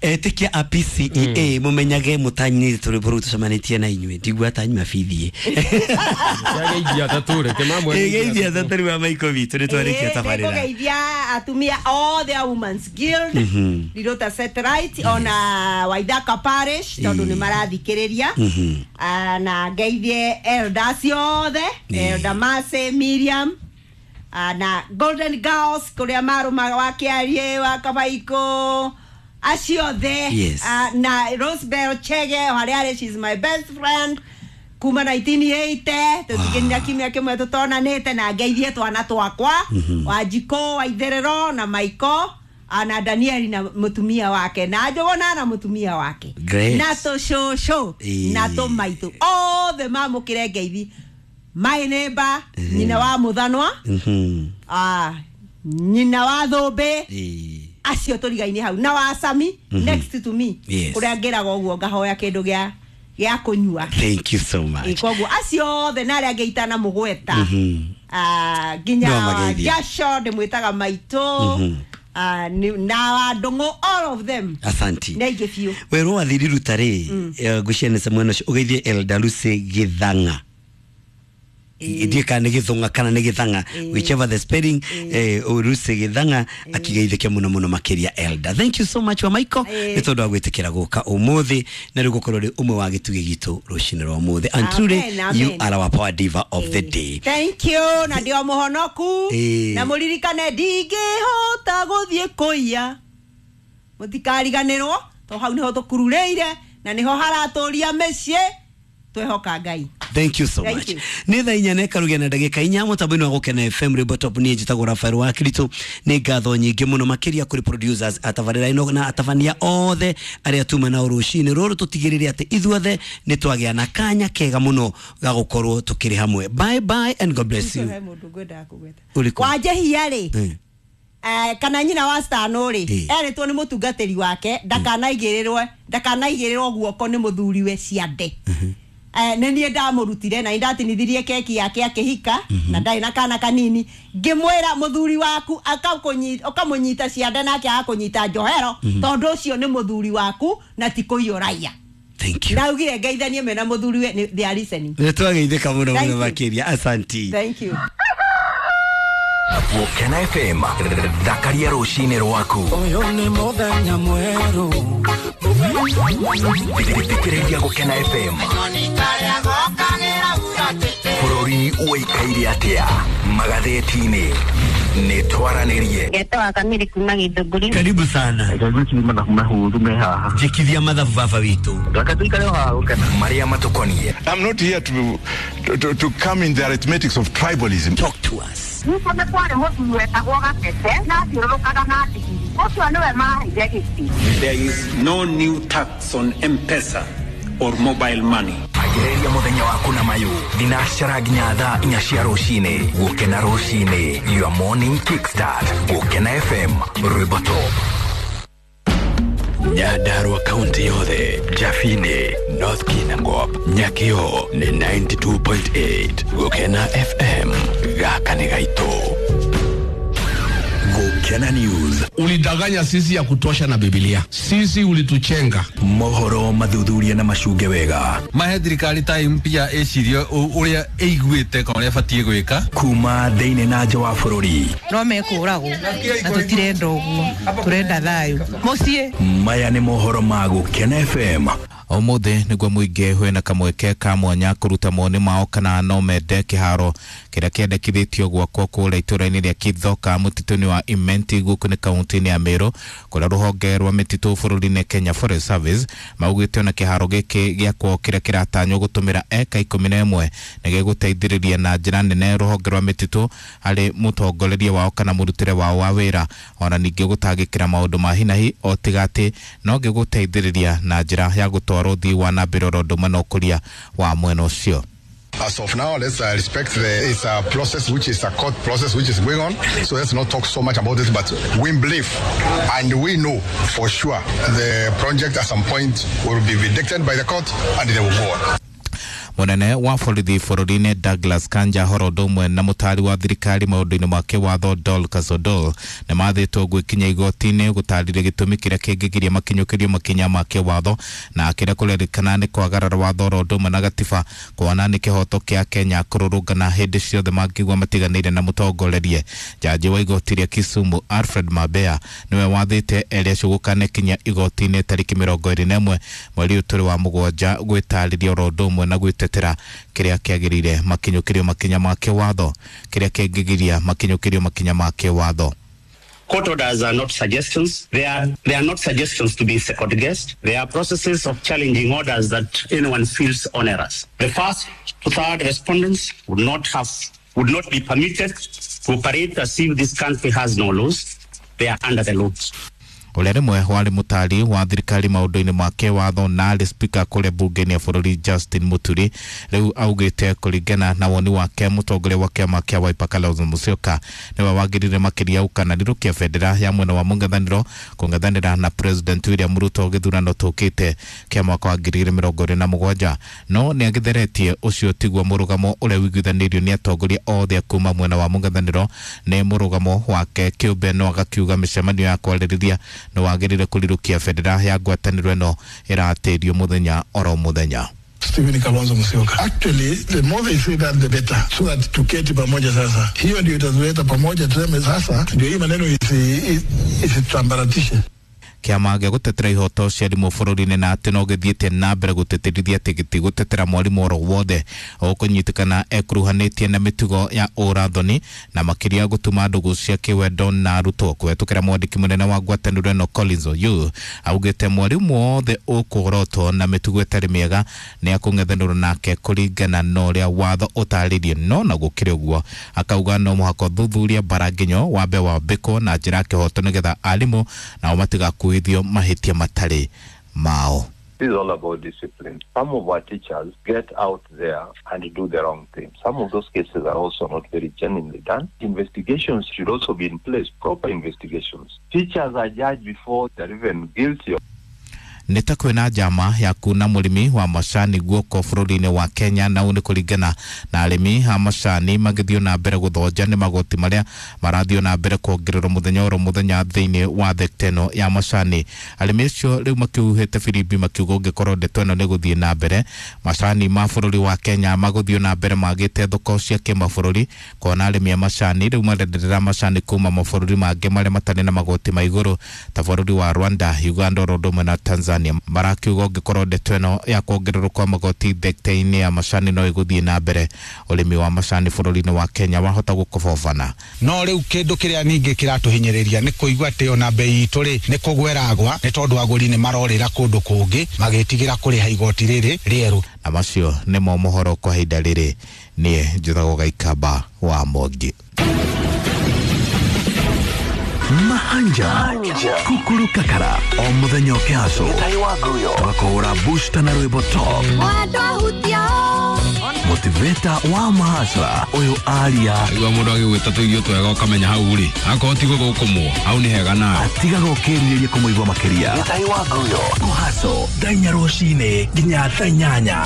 Etikia a PCEA mumenyage mutanyire turi buru tucemanitie na inyue ndigua ta nyuma bithie. Geithia tatu reke mamwe. Geithia tatu wa Maiko witũ nĩ twarĩkia tabarĩra. Nĩngũgeithia atumia othe a Women's Guild Rirota Satellite ona Waithaka Parish tondũ nĩ marathikĩrĩria. Na ngeithie elders othe, Elder Mercy, Miriam, na Golden Girls kũrĩa marũmaga wa Kĩarie wa Kabaiko acio othe. Yes. Na Rosebell Chege harĩa arĩ, she's my best friend kuma 1980 tũtikinya kiumia kĩmwe tũtonanĩte. Na ngeithie twana twakwa Wanjikũ wa Itherero na Maiko na Danieli na mũtumia wake na Njũgũna na mũtumia wake. Great. Na tũcũcũ na tũmaitũ othe mamũkĩre ngeithi. My neighbor nyina wa Mũthanwa, nyina wa Thũmbĩ, acio tũrigaine hau na wa Sami next to me. Yes. Kũrĩa ngĩraga ũguo ngahoya kĩndũ gĩa kũnyua. Thank you so much. Koguo acio othe na arĩa angĩ itanamũgweta, nginya No mageithia. Jasho ndĩmwĩtaga maitũ, na wa Ndũng'ũ, all of them. Asanti. Nĩ aingĩ biũ. Werwo wathiri ruta rĩ, ngwĩciria nĩ mwena ũcio ũgeithie Elder Lucy Gĩthang'a. Ndiĩ kana nĩ Gĩthũng'a kana nĩ Gĩthang'a, whichever the spelling, Lucy Gĩthang'a akĩgeithĩke mũno mũno makĩria. Elder, thank you so much wa Michael nĩ tondũ wa gwĩtĩkĩra gũka ũmũthĩ na rĩu gũkorwo rĩ ũmwe wa gĩtugĩ gitũ rũcinĩ rwa ũmũthĩ, and truly Amen, you amen. are our power diva of the day. Thank you, na ndio mũhonoku. Na mũririkane ndingĩhota gũthiĩ kũiya, mũtikariganĩrwo to hau nĩho tũkururĩire na nĩho haratũria mĩciĩ. Twehoka Ngai. Thank you so Thank much. you. Nĩ thaa 4 na ĩkarugia na ndagĩka 4 mũtambo-inĩ wa Gũkena FM Rwĩmbo Top. Niĩ njĩtagwo Rafael wa Kiritũ. Nĩ ngatho nyingĩ mũno makĩria kũrĩ producers atabarĩra ĩno na atabania othe arĩa tuma nao rũcinĩ rũrũ tũtigĩrĩre atĩ ithuothe nĩ twagĩa na kanya kega mũno ga gũkorwo tũkĩrĩ hamwe. Bye bye and God bless you. He mũndũ ngwendaga kũgweta. Ũrĩkũ? Wanjehia rĩ, kana nyina wa Stano rĩ, erĩtwo nĩ mũtungatĩri wake ndakanaigĩrĩrwo guoko nĩ mũthuriwe ciande. Nĩ niĩ ndamũrutire na nĩ ndatinithirie keki yake akĩhika na ndarĩ na kana kanini, ngĩmwĩra mũthuri waku ũkamũnyita ciande nake agakũnyita njohero tondũ ũcio nĩ mũthuri waku na ti kũiyũraia. Thank you. Ndaugire ngeithanie mena mũthuriwe they are listening. Nĩ twageithĩka mũno Thank mũno you. makĩria. Asanti. Thank you. Gũkena FM, thakaria rũcinĩ rwaku. Ũyũ nĩ mũthenya mwerũ. Thikĩrĩria Gũkena FM. Bũrũri ũikaire atĩa magathĩti-inĩ? Nĩ twaranĩrie. Ngetawa Kamiri kuma Githũngũri. Karibu sana. Ngwĩciria mathabu mahũthũ me haha. Njĩkithia mathabu baba witũ. Reke tũikare o haha gũkena. Marĩa matũkoniĩ. I'm not here to come in the arithmetics of tribalism. Talk to us. Ningĩ nĩ kwarĩ mũthuri wetagwo Gatete na athiũrũrũkaga na ndigiri ũcio nĩwe maheire gĩtĩ. There is no new tax on M-Pesa or mobile money. Ambĩrĩria mũthenya waku na mayũ thinacara nginya thaa 4 cia rũcinĩ. Gũkena rũcinĩ, your morning kickstart. Gũkena FM, rwĩmbo top. Nyandarua kaunti yothe, Jafine, North Kinangop, Nyakio nĩ 92.8 Gũkena FM. Gaka nĩ gaitũ. Gũkena News. Ulidanganya sisi ya kutosha na Biblia. Sisi ulituchenga. Mohoro mathuthuria na macunge wega. Mahe thirikari time pia ĩcirie ũrĩa ĩiguĩte kana ũrĩa ĩbatiĩ gwĩka. Kuma thĩinĩ na nja wa bũrũri. No mekũragwo na tũtirenda ũguo, tũrenda thayũ mũciĩ. Maya nĩ mohoro ma Gũkena FM. Ũmũthĩ nĩguo mũingĩ wĩna kamweke ka mwanya kũruta mawoni mao kana no mende kĩharo kĩrĩa kĩendekithĩtio gwakwo kũrĩa itũũra-inĩ rĩa Kithoka mũtitũ-inĩ wa Imenti gũkũ nĩ kaunti-inĩ ya Meru, kũrĩa rũhonge rwa mĩtitũ bũrũri-inĩ Kenya Forest Service maugĩte ona kĩharo gĩkĩ gĩakwo kĩrĩa kĩratanywo gũtũmĩra eka 11 nĩ gĩgũteithĩrĩria na njĩra nene rũhonge rwa mĩtitũ harĩ mũtongoreria wao kana mũrutĩre wao wa wĩra, ona ningĩ gũtangĩkĩra maũndũ ma hinahi o tiga atĩ no gĩgũteithĩrĩria na njĩra ya gũtwara ũthii wa na mbere oro ũndũ ũmwe na ũkũria wa mwena ũcio. As of now, let's respect it's a process which is a court process which is going on. So let's not talk so much about it. But we believe and we know for sure the project at some point will be vindicated by the court and they will go on. Munene wa borithi bũrũri-inĩ Douglas Kanja horo ũndũ ũmwe na mũtaari wa thirikari maũndũ-inĩ ma kĩwatho Dorcas Odol nĩ mathĩtwo gwĩkinya igoti-inĩ gũtarĩria gĩtũmi kĩrĩa kĩngĩgiria makinyũkĩrio makinya ma kĩwatho na kĩrĩa kũrerĩkana nĩ kwagarara watho oro ũndũ ũmwe na gatiba kuona nĩ kĩhoto kĩa Kenya kũrũrũngana hĩndĩ ciothe mangĩigua matiganĩire na mũtongorerie. Jaji wa igoti rĩa Kisumu Alfred Mabea nĩwe wathĩte erĩ acio gũkanekinya igoti-inĩ tarĩki 21 mweri ũyũ tũrĩ wa mũgwanja gwĩtarĩria oro ũndũ ũmwe na gwĩtetera kĩrĩa kĩagĩrĩire makinyũkĩrio makinya ma kĩwatho kĩrĩa kĩngĩgiria makinyũkĩrio makinya ma kĩwatho. Court orders are not suggestions. They are not suggestions to be second guessed. They are processes of challenging orders that anyone feels onerous. The first to third respondents would not be permitted to operate as if this country has no laws. They are under the laws. Ũrĩa rĩmwe warĩ mũtari wa thirikari maũndũ-inĩ ma kĩwatho na arĩ spika kũrĩa mbunge-inĩ ya bũrũri Justin Muturi rĩu augĩte kũringana na woni wake mũtongoria wa kĩama kĩa Wiper Kalonzo Musyoka nĩwe wagĩrĩire makĩria gũkananĩrũkia bendera ya mwena wa mũng'ethanĩro kũng'ethanĩra na President William Ruto gĩthurano tũkĩte kĩa mwaka wa 2027 no nĩagĩtheretie ũcio tiguo mũrũgamo ũrĩa ũiguithanĩirio nĩ atongoria othe kuma mwena wa mũng'ethanĩro nĩ mũrũgamo wake kĩũmbe no agakiuga mĩcemanio ya kwarĩrĩria no wagĩrĩire kũrirũkia bendera ya ngwatanĩro ĩno ĩratĩrio mũthenya oro mũthenya. Stephen Kalonzo Musyoka. Actually, the more they say that the better, so that tuketi pamoja sasa. Hiyo ndio itatuleta pamoja, tuseme sasa ndio hii maneno isitambaratishe. Kĩama gĩa gũtetera ihoto cia arimũ bũrũri-inĩ na atĩ no gĩthiĩte na mbere gũtĩtĩrithia atĩ gĩtigũtetera mwarimũ oro wothe ũkũnyitĩkana ekuruhanĩtie na mĩtugo ya ũrathoni na makĩria gũtuma ndũgũ cia kĩwendo na arutwo kũhetũkĩra mwandĩki mũnene wa ngwatanĩro ĩno Collins Oyuu augĩte mwarimũ wothe ũkũrotwo na mĩtugo ĩtarĩ mĩega nĩ akũng'ethanĩrwo nake kũringana na ũrĩa watho ũtarĩirie no na gũkĩrĩ ũguo akauga no mũhaka ũthuthuria mbara nginyo wambe wambĩkwo na njĩra ya kĩhoto nĩgetha arimũ nao matigakuithio mahĩtia matarĩ mao. This is all about discipline. Some of our teachers get out there and do the wrong thing. Some of those cases are also not very genuinely done. Investigations should also be in place, proper investigations. Teachers are judged before they're even guilty. Nĩ ta kwĩna njama ya kuna mũrĩmi wa macani guoko bũrũri-inĩ wa Kenya na ũũ nĩ kũringana na arĩmi a macani magĩthiĩ na mbere gũthonja nĩ magoti marĩa marathiĩ na mbere kuongererwo mũthenya oro mũthenya thĩinĩ wa thekta ĩno ya macani. Arĩmi acio rĩu makĩhuhĩte birimbi makiuga ũngĩkorwo ndeto ĩno nĩ gũthiĩ na mbere macani ma bũrũri wa Kenya magũthiĩ na mbere magĩte thoko cia kĩmabũrũri kuona arĩmi a macani rĩu marenderera macani kuma mabũrũri mangĩ marĩa matarĩ na magoti ma igũrũ ta bũrũri wa Rwanda, Uganda oro ũndũ ũmwe na Tanzania. Marakiuga ũngĩkorwo ndeto ĩno ya kuongererwo kwa magoti thekta-inĩ ya macani no ĩgũthiĩ na mbere ũrĩmi wa macani bũrũri-inĩ wa Kenya wahota gũkobobana. No rĩu kĩndũ kĩrĩa ningĩ kĩratũhinyĩrĩria nĩ kũigua atĩ ona bei itũ rĩ nĩ kũgweragwa nĩ tondũ agũri nĩ marorĩra kũndũ kũngĩ magĩtigĩra kũrĩha igoti rĩrĩ rĩerũ. Na macio nĩmo mohoro kwa ihinda rĩrĩ. Niĩ njĩtagwo Gaikamba wa Mwangi. Mahanja Kukuru Kakara o muthenya ũkĩhaco tũgakũhũra booster na rwĩmbo top motivator wa mahacra ũyũ aria igua mũndũ agĩgwĩta tũirio twega ũkamenya hau rĩ akorwo ti gũthũkũmwo hau nĩ hega nawe atigaga ũkĩrirĩria kũmũigua makĩria kũhaco thaa inya rũcinĩ nginya thaa inyanya.